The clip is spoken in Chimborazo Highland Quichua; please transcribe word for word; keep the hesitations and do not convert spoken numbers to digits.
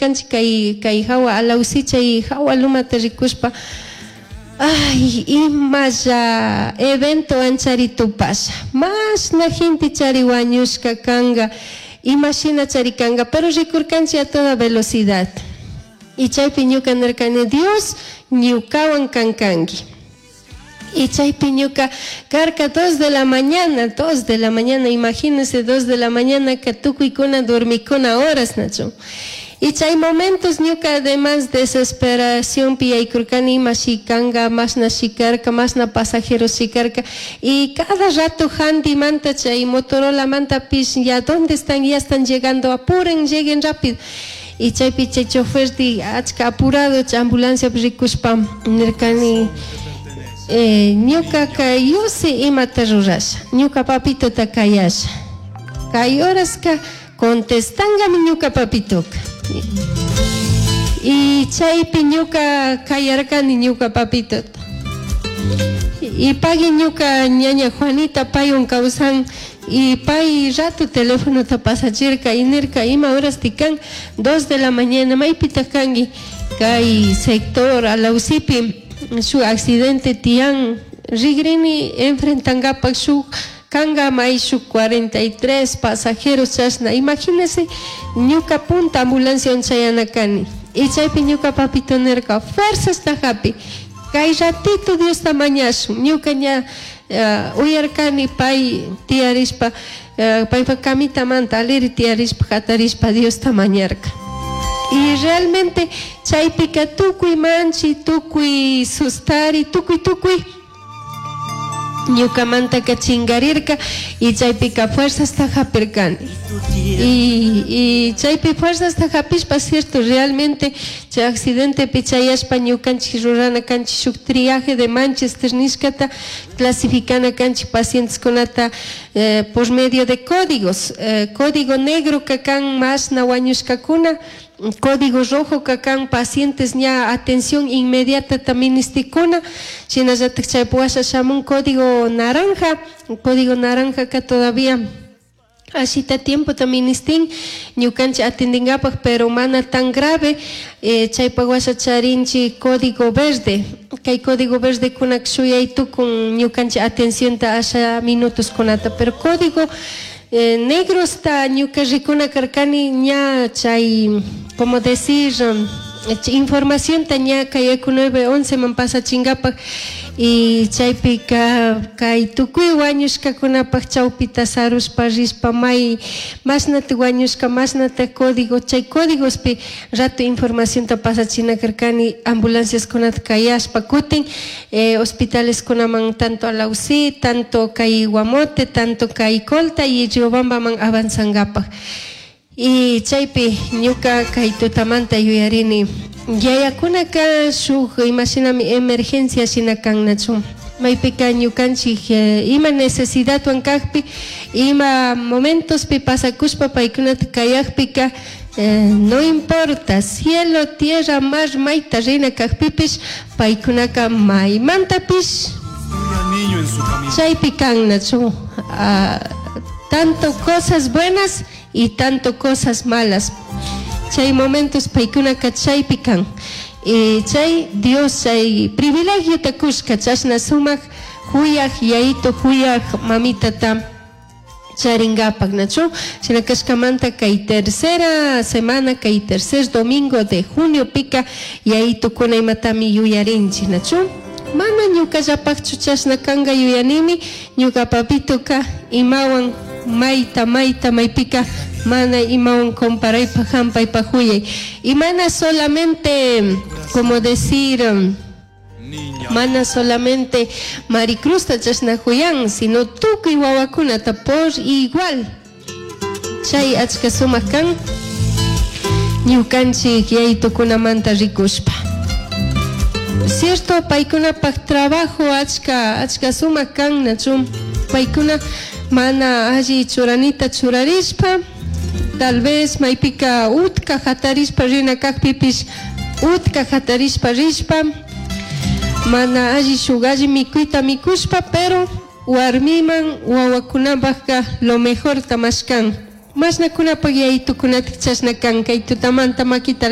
Rikurkanchik kay kay hawa Alausi, chay hawa lumata rikushpa, ay, imalla evento anchari tupasha, mashna gente chari wañushka kanga, imashina chari kanga, pero rikurkanchik a toda velocidad. Y chaypi ñuka nirkani: "Dios, ñukawan kankanki". Y chaypi ñuka karka dos de la mañana, dos de la mañana, imagínense, dos de la mañana que tukuykuna dormikuna horas, nachu. Y chay momentos ñuka además desesperación yaykurkani, ima kanga, mashna shikarka, mashna pasajeros shikarka. Y cada rato manta chay Motorola manta pish, ya dónde están, ya están llegando, apuren, lleguen rápido. Y chaypi chay chofer di achka apurado chay ambulancia rikushpa nirkani, eh, ñukaka yusi imata rurasha, ñuka papitota kayasha, kay horaska contestangami ñuka papitoka. Y chaypi ñuka kayarkani ñuka papitota y pagui ñuka ñaña Juanita, paywan kawsan, y pay rato teléfono pasachirka y nirka: "Ima horas tikan? Dos de la mañana, maypitaq kanki? Kay sector Alausipi shuk accidente tiyan, rigrini enfrentangapak, shuk kanga may shuk cuarenta y tres pasajeros chashna". Imagínese, ñuka punta ambulancia chayana kani. Y chaypi ñuka papito nirka: "Fuerzasta hapi, kay ratito Diosta mañashun". Ñuka ña uh, uyarkani pay tiyarishpa, uh, paypa camitamanta aliri tiyarishpa, hatarishpa Diosta mañarka. Y realmente chaypika tukuy manchi, tukuy sustari, tukuy tukuy ñukamantaka chingarirka y chaypika fuerzasta hapirkani. Y, y chaypi fuerzasta hapishpa, cierto, realmente chay accidentepi chayashpa ñukanchik rurana kanchik shuk triaje de Manchester nishkata, clasificana kanchik pacienteskunata eh, por medio de códigos. Eh, código negro ka kan mashna wañushkakuna, código rojo ka kan pacientes ña atención inmediata ministikuna, shinallatak chaypi washa shamun código naranja, código naranja ka todavía ashita tiempo ministin ñukanchik atendingapak, pero mana tan grave. eh, chaypak washa charinchik código verde. Kay código verde kunak shuyay tukun ñukanchik atencionta asha minutos kunata, pero código eh, negro está ñuka rikuna karkani ña chay, como decir, um, información ta ña kay Ecu nueve once man pasachingapak. Y chaypika kay tukuy wañushkakunapak chawpita sarushpa rishpa, may mashnata wañushka, mashnata código, chay códigospi rato informacionta pasachina karkani, ambulanciaskunata kayashpa kutin eh, hospitaleskunaman, tanto Alausí, tanto kay Guamote, tanto kay Colta y Riobambaman avanzangapak. Y chaypi ñuka kay tutamanta yuyarini yayakunaka shuk imashinami emergencia shina kan, nachu. Maypika ñukanchik eh, ima necesidadwan kakpi, ima momentospi pasakushpa paykunata kayakpika, eh, no importa cielo, tierra, mar, mayta rina kakpipish, paykunaka maymantapish niño en su camino. Chaypi kan, nachu. Ah, tanto cosas buenas y tanto cosas malas, chay momentos paykunaka chaypi kan. Y chay Dios chay privilegiota kushka, chashna sumak huyaj yayito, huyaj mamitata charingapak, nachu. Shina kashkamanta kay tercera semana, kay tercer domingo de junio pika yayitukuna imatami yuyarinchik, nachu. Mana ñukallapakchu chashna kanga yuyanimi, ñuka papituka imawan mayta mayta maypika mana imawan comparaypaj hampaypaj huyay. Y mana solamente, como decir, Niña. mana solamente Maricruzta chashna huyan, sino tukuy wawakunata por igual. Chay achka sumak kan ñukanchik yayitukunamanta rikushpa. Cierto, paykunapak trabajo achka achka sumak kan, nachu. Paykuna mana alli churanita churarishpa, tal vez maypika utka hatarishpa rina kakpipish utka hatarishpa rishpa, mana alli shuk alli mikuyta mikushpa, pero warmiman wawakunapakka lo mejor mashkan. Mashnakunapak yayitukunatik chashna kan? Kay tutamanta makita.